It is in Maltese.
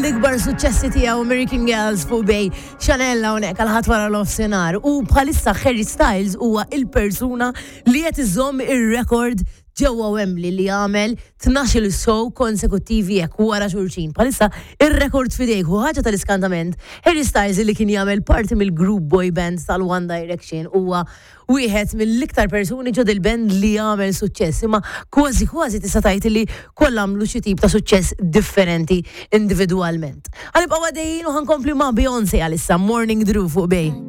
mill-ikbar suċċessi tiegħu American Girls fuq Bay Chanel hawnhekk għal ħadd wara nofsinhar u bħalissa Harry Styles huwa il-persuna li qed iżomm ir-rekord ġewwa Wembley li għamel 12-il show konsekuttivi hekk wara xulxin. Bħalissa ir-rekord f'idejh u ħaġa tal-iskantament Harry Styles li kien jagħmel parti mill-group boy band tal-One Direction huwa wieħed mill-iktar persuni ġo dil-band li għamel suċċess, imma kważi kważi tista' tgħid li kollha għamlu xi tip ta' suċċess differenti individwalment. Ħa nibqgħu għaddejjin u ħa nkompli ma' Beyoncé għalissa Morning Dew fuq Bay.